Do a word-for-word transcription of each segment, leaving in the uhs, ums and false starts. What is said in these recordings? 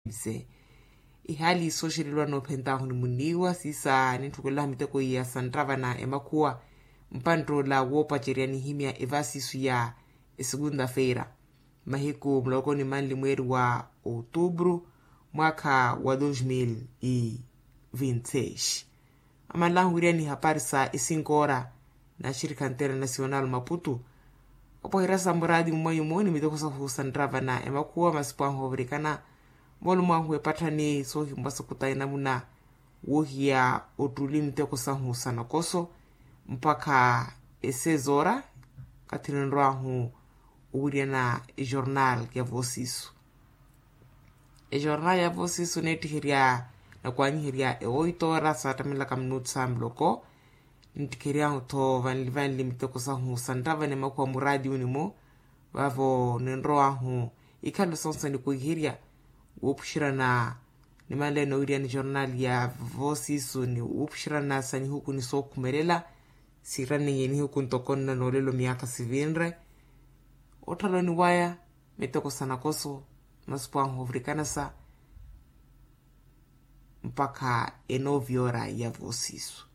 Mse ihaali sooxeleliwa noophentaahu ni muniiwa siisa nintthukelaha miteko iya santtava na emakhuwa. Mpantt'ola woopacerya nihimya evasisu ya esukunta-feira mahiku muloko ni manli mweeri wa outubru mwaakha wa dos mil e vinte seis. Amanlahu wiriya ni hapari sa esinkoora na axirikha internasional maputu. Opoherya sa muraadi mumwayumo ni miteko sahu santtava na emakhuwa masipu ahu ovirikana moolumo ahu epatthani soohimwa sokuta enamuna woohiya ottuli miteko sahu sa nakoso mpakha esezoora kathi ninrowaahu owiryana ejornal ya voosisu. Ejornal ya voosisu neettiherya na kwaanyiherya ewoitoora saattamelaka minutu sa muloko. Nittikheryahu-tho vanli vanli miteko sahu santtava ni emakhuwa muraadi unimo vaavo ninrowaahu ikhalo sonse nikwiherya wuupuxerana ni manleya noowiryana ejornal ya voosisu ni wuupuxerana sa nihuku ni sookhumelela. Siiranneiye nihuku ntoko nna noolelo miyaakha sivinre ottaloni waya miteko sa nakoso masipu ahu ovirikana sa mpakha enoviora ya voosisu.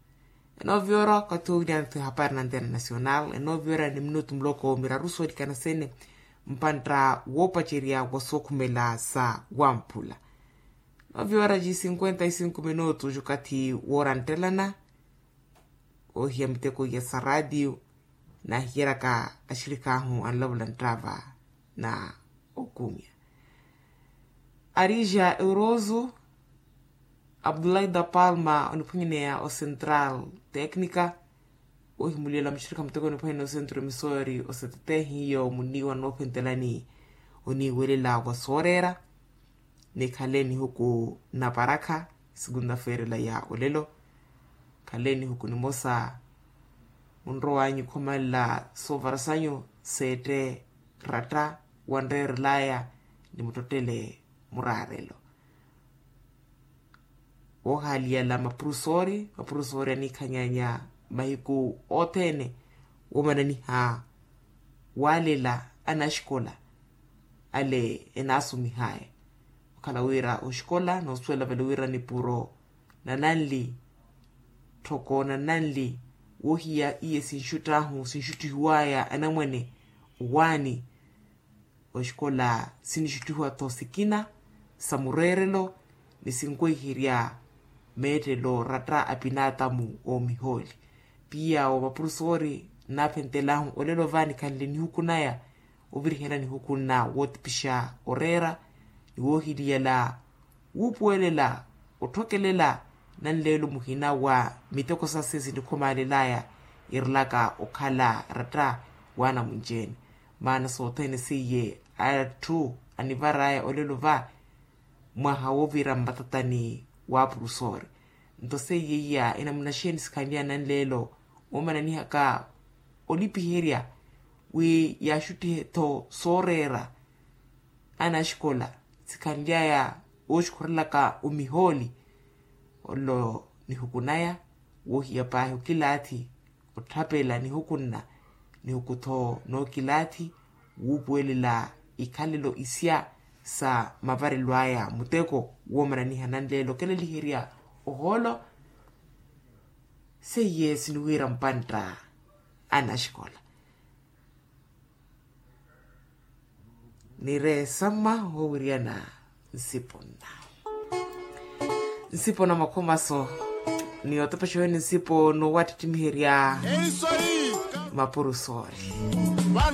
Enoviora okathi owiryana-tho ehapari na internasional enoviora ni minutu muloko miraru soolikana sene mpantta woopacerya wa sookhumela sa wamphula. Noviora ji cinquenta e cinco minutu jukathi wooranttelana oohiya miteko iya sa raatiyo. Naahiyeryaka axirikaahu anlavula nttava na okumya arija euroso abdullahi da palma oniphwanyaneya ocentral tecnica. Oohimulyela muxirikha muteko oniphwanyaneya ocentro missouri osetetehiyo muniiwa noophentelani oniiwelela wa sooreera. Nikhale nihuku na parakha sikunta-feira ela ya olelo. Khale nihuku nimosa munrowanyu khomala soovara sanyu seette ratta wanreerelaya ni muttottele muraarelo. Woohaaliyala mapurusoori mapurusoori aniikhanyanya mahiku othene woomananiha waalela anaxikola ale enaasumihaya. Okhala wira oxikola noosuwela vale wira nipuro na nanli tthoko na nanli woohiya iye sinxuttahu sinxuttihiwaya anamwane owaani. Oxikola sinixuttihiwa-tho sikina sa mureerelo ni sinkweherya meettelo ratta a pinaatamu oomihooli. Piya wa mapurusoori nnaaphentelahu olelo va nikhanle nihuku naya ovirihela nihuku nna wootipixa oreera ni woohiliyela wuupuwelela otthokelela nanleelo muhina wa miteko sase sinikhumaalelaya irelaka okhala ratta w'anamunci-ene. Maana sothene seiye atthu anivaraya olelo va mwaha woovira mmatatani wa apurusoori. Nto seiye iya enamuna xeeni sikhanlyaya nanleelo woomananihaka olipiherya wi yaaxuttihe-tho sooreera anaxikola sikhanlyaya wooxukhurelaka omihooli. Ollo nihuku naya woohiya paahi okilaathi otthapela nihuku nna nihuku-tho nookilaathi wuupuwelela ikhalelo isya sa mavarelo aya muteko woomananiha nanleelo okeleliherya ohoolo. Seiye siniwiira mpantta anaxikola nireesamma woowiryana nsipo nna nsipo na makhomaso ni otepexa wene nsipo noowattittimiherya mapurusoori.